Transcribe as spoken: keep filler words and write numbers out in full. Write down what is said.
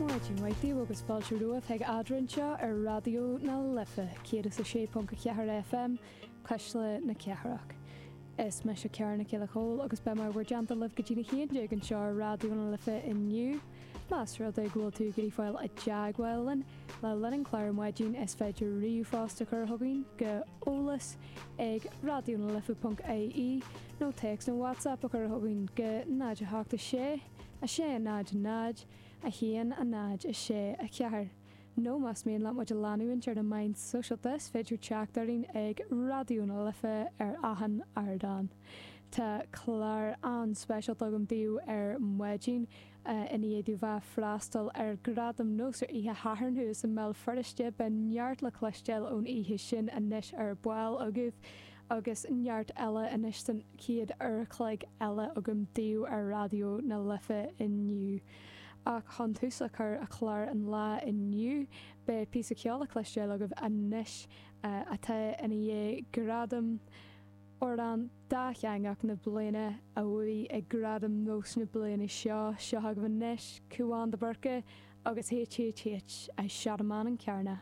Maidin mhaith daoibh agus fáilte romhaibh chuig Eadrainn anseo ar Raidió na Life céad is a sé ponc a ceathair FM Cuisle na Cathrach. Is mise Ciara Nic Giolla Chóill agus beidh mé i bhur dteannta libh go dtí a haon déag anseo ar Raidió na Life inniu. Más rud é go bhfuil tú ag iarraidh fáil i dteagmháil linn le linn an chláir ar maidin is féidir ríomhphost a chur chugainn go eolas ag radionalife.ie nó téacs nó WhatsApp a chur chugainn go náid a hocht a sé a sé náid náid a haon a náid a sé a ceathair. Nó más mian leat muid a leanúint ar na meáin sóisialta is féidir teacht orainn ag Raidió na Life ar achan ardán. Tá clár an-speisialta agam daoibh ar maidin i ndiaidh domh bheith freastal ar Ghradaim NÓS ar oíche Shathairn thuas i mBéal Feirste beidh neart le cloisteáil ón oíche sin anois ar ball agaibh agus neart eile anois san chéad uair a chloig eile agam daoibh ar Raidió na Life inniu. Ach chun tús a chur le clár an lae inniu beidh píosa ceoil le cloisteáil agaibh anois atá ina dhiaidh gradam amhrán dátheangach na bliana a bhuaigh ag Gradaim NÓS na bliana seo seo agaibh anois Cúán de Burca agus HHH I Shot a Man in Carna.